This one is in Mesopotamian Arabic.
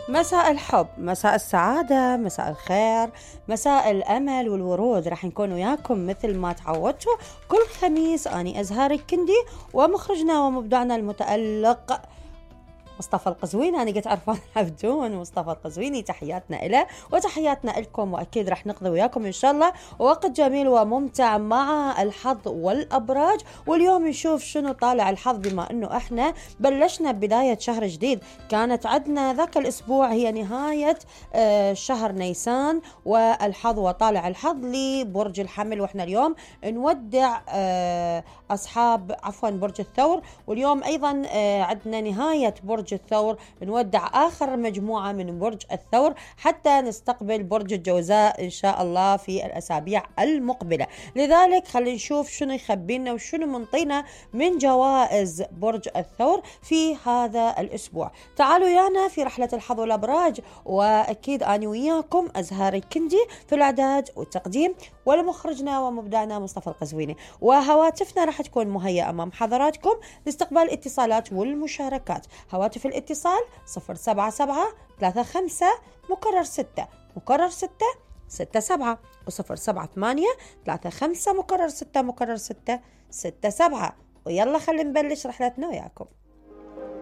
مساء الحب، مساء السعادة، مساء الخير، مساء الأمل والورود. راح نكون وياكم مثل ما تعودتوا كل خميس. أني أزهار الكندي ومخرجنا ومبدعنا المتألق مصطفى القزويني. أنا قلت عرفان عبدون مصطفى القزويني. تحياتنا إله وتحياتنا لكم، وأكيد رح نقضي وياكم إن شاء الله وقت جميل وممتع مع الحظ والأبراج. واليوم نشوف شنو طالع الحظ، بما أنه إحنا بلشنا بداية شهر جديد. كانت عندنا ذاك الأسبوع هي نهاية شهر نيسان، والحظ وطالع الحظ لبرج الحمل. وإحنا اليوم نودع أصحاب برج الثور. واليوم أيضا عندنا نهاية برج الثور، نودع آخر مجموعة من برج الثور حتى نستقبل برج الجوزاء إن شاء الله في الأسابيع المقبلة. لذلك خلينا نشوف شنو يخبينا وشنو منطينا من جوائز برج الثور في هذا الأسبوع. تعالوا يانا في رحلة الحظ والأبراج، وأكيد أنا وياكم أزهار الكندي في الإعداد والتقديم، ولمخرجنا ومبدعنا مصطفى القزويني. وهواتفنا راح تكون مهيئة أمام حضراتكم لاستقبال الاتصالات والمشاركات. هواتف الاتصال 077-35 مكرر 6 مكرر 6 67 و078-35 مكرر 6 مكرر 6 67. ويلا خلينا نبلش رحلتنا وياكم.